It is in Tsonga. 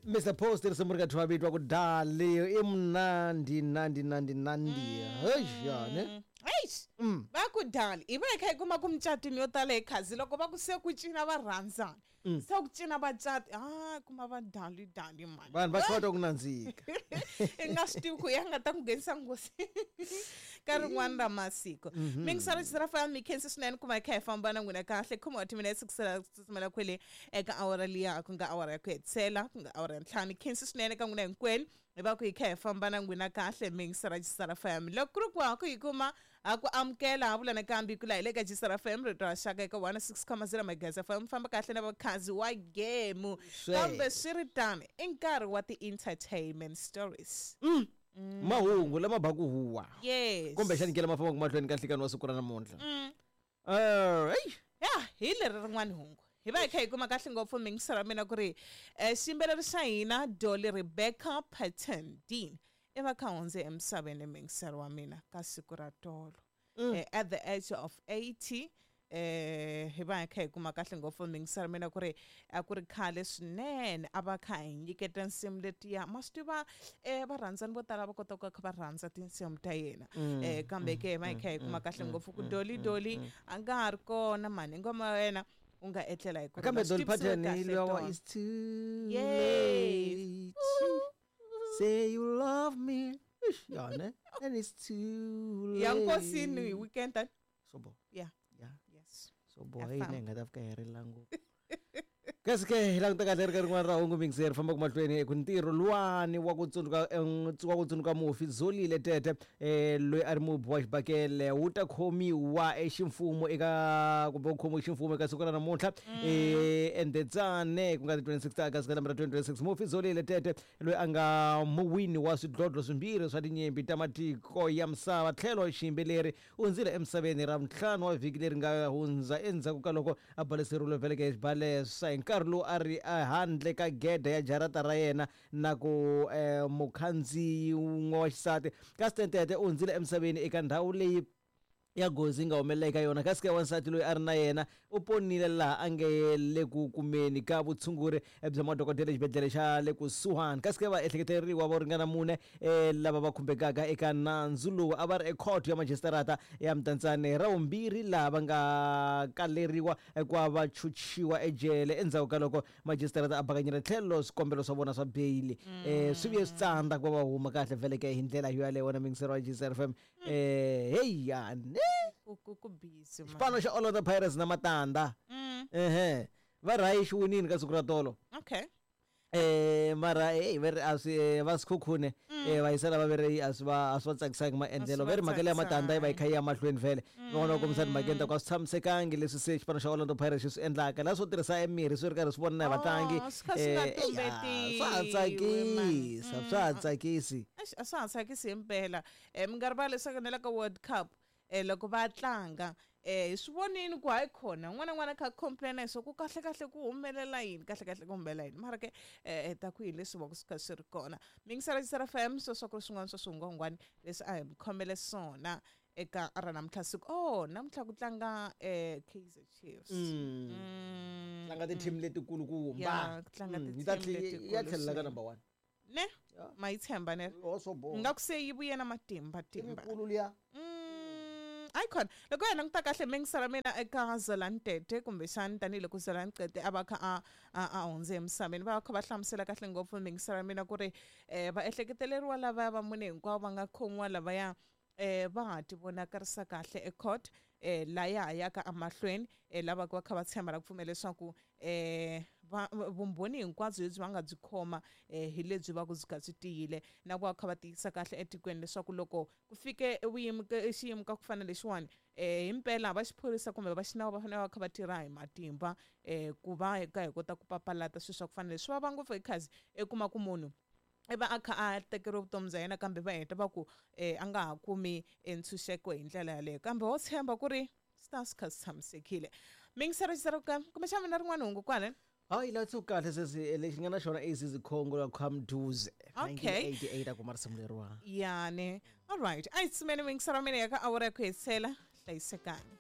Mr Post risimu ri ka thuma vitwa ku dali i mnandi nandi nandi nandi heyane. Eish, va ku dali hi va hi kha hi kuma ku micatwini yo tala hi khazi loko va ku se ku cina va rhandzana, se ku cina va cati, a kuma va dali dali mani. Vanhu va hlota ku nandzika. I nga swi tivi ku ya nga ta ku nghenisa nghozi ka rin'wana ra masiku. Mingisana xi ra fana mi khensi swinene ku va hi kha hi famba na n'wina kahle. Khomiwa timinetse ku sala ku tsutsumela kwele eka awara liya, ku nga awara ya ku hetisela, ku nga awara ya ntlhanu. Khensi swinene ka n'wina hinkwenu hi va ku hi kha hi famba na n'wina kahle. Mingisana Gisara FM, loko ku ri ku ha ku hi kuma ha ku amukela ha vula nakambe ku la hi le ka Gisara FM, rito ra xaka eka 106.0 megahertz FM. Famba kahle na vakhazi wa gemu. Kambe swi ri tano, i nkarhi wa ti-entertainment stories. Mahungu lama ba ku huwa. Yes. Kumbexani ke lama fambaka mahlweni ka nhlikani wa siku ra namuntlha. Hey. Ya, hi leri rin'wana hungu hi va hi kha hi kuma kahle ngopfu mingiselo ra mina ku ri xiyimbeleri xa hina Dolly Rebecca Parton Dean i va kha hundze emisaveni mingiselo wa mina ka siku ra tolo. At the age of 80, hi va hi kha hi kuma kahle ngopfu mingiselo mina ku ri a ku ri khale swinene a va kha hi nyiketa nsimu letiya. Ma swi tiva, varhandzani vo tala va kota ku kha va rhandza tinsimu ta yena. Kambe ke hi va hi kha hi kuma kahle ngopfu ku Dolly Dolly a nga ha ri kona mani, ngoma ya wena u nga etlela hi ku Kambe rhula. Dolly Swi tivisiwe Parton kahle luya wa tolo. It's too Yes. late. Say you love me. Eish, ya ne? And it's too Ya late. nkosini hi weekend. So bo. Yeah. Yeah. Yes. So bo Ya hi famba. ne nga ta fika hi rila ngopfu. Kasi ke hi languta kahle ri ka rin'wana ra hungu mingiseri famba mahlweni ku ntirho luwani wa ku tsundzuka, wa ku tsundzuka mufi Zolile Tete, loyi a ri mubi wa xibakele, wu ta khomiwa eximfumo eka kumbe ku khomiwa ximfumo eka siku ra namuntlha eNdetsane, ku nga ti 26 ta August ka lembe ra 2026. Mufi Zolile Tete loyi a nga muwini wa swidlodlo swimbirhi swa tinyimpi ta matiko ya misava tlhelo xiyimbeleri u hundzile emisaveni ra ntlhanu wa vhiki leri nga hundza endzhaku ka loko a baleseriwile veleke xibalesa hi nkarhi lowu a ri ehandle ka gede ya jarata ra yena na ku mukhandziyi wun'we wa xisati. Kasi Tete u hundzile emisaveni eka ndhawu leyi ya gozi nga humelela eka yona. Kasi ke wansati loyi a ri na yena u ponile laha a nge le ku kumeni ka vutshunguri bya madokodela exibedhlele xa le kusuhani. Kasi ke va ehleketeleriwa vo ringana mune lava va khumbekaka eka nandzu lowu a va ri ekhoto ya majisitarata ya Mdantsane ra vumbirhi, laha va nga kaleriwa ku va va chuchiwa ejele endzhaku ka loko majisitarata a bakanyile tlhelo swikombelo swa vona swa beyili. Swi vuye swi tsandza ku va va huma kahle veleke hi ndlela yo yaleyo. Wena mingiseri wa GCR FM, hey ya ne Ku busy man. Xipano xa Orlando Pirates na matanda ehe va rhayi xi winini ka siku ra tolo. Okay. Mara hey va ri a swi va Sekhukhune va yisela va veri a swi va tsakisangi maendlelo. Va ri mhaka leya matanda yi va yi kha yi ya mahlweni vhele. Van'wana va kombisa timhakeni ta ku a swi tshamisekangi leswi se xipano xa Orlando Pirates xi swi endlaka, laha swo tirhisa emirhi swi ri karhi swi vona na hi vatlangi. Oh, swi kha swi nga Swa ha tumbetiwi, man. tsakisa, swa ha tsakisi. Eish, a swa ha tsakisi himpela. Mi nga rivali leswaku na le ka World Cup, loko va tlanga, hi swi vonini ku hayi khona un'wana na un'wana a kha a complain-a hi swa ku kahle kahle ku humelela yini, kahle kahle ku humelela yini. Mara ke, ta ku hi leswi va ku swi kha swi ri kona. Mingisela Gisela FM, sweswo ku ri swin'wana swa swihungwahungwani leswi a hi mi khomele swona eka ra namuntlha siku. Oh, namuntlha ku tlanga Kaizer Chiefs. Tlanga ti-team letikulukumba. Ya, ku tlanga Yi ta ti-team letikulu ya tlhelela ka swinene. number 1. Ne? Ya. Ma yi tshemba ne? Oh, so bo. Nga ku se yi vuye na matimba, timba. Timikulu liya. Hayi khona loko hi languta kahle mingisela mina eka Zolani Tete, kumbexani tanihiloko Zolani Tete a va kha a hundze emisaveni, va kha va hlamusela kahle ngopfu mingisela mina ku ri va ehleketeleriwa lavaya va mune hinkwavo va nga khomiwa lavaya, va ha ti vonakarisa kahle ecourt, la ya ha yaka emahlweni, lava va kha va tshemba na ku pfumela leswaku, vumbhoni hinkwabyo lebyi va nga byi khoma, hi lebyi va ku byi kha byi tiyile, na ku va kha va tiyisa kahle etikweni leswaku loko ku fike xiyimo ka ku fana lexiwani, himpela va xiphorisa kumbe va xinawu va fanele va kha va tirha hi matimba, ku va hi ka hi kota ku papalata swilo swa ku fana leswi. Swi vava ngopfu hi khazi i kuma ku munhu i va a kha a tekeriwe vutomi bya yena, kambe va heta va ku, a nga ha kumi ntshunxeko hi ndlela yaleyo, kambe wo tshemba ku ri swi ta swi kha swi tshamisekile. Mingiselo xi ka kumbexana mina rin'wana hungu kwale. Hayi la tsu kahle sesi, lexi nga na xona Azizi Congo la Khamduze. Okay. 1988 a kuma risimu leriwa. Yani. All right. A hi tsumeni mingiselo mina ya ka awara ya ku hetisela. Hlayisekani.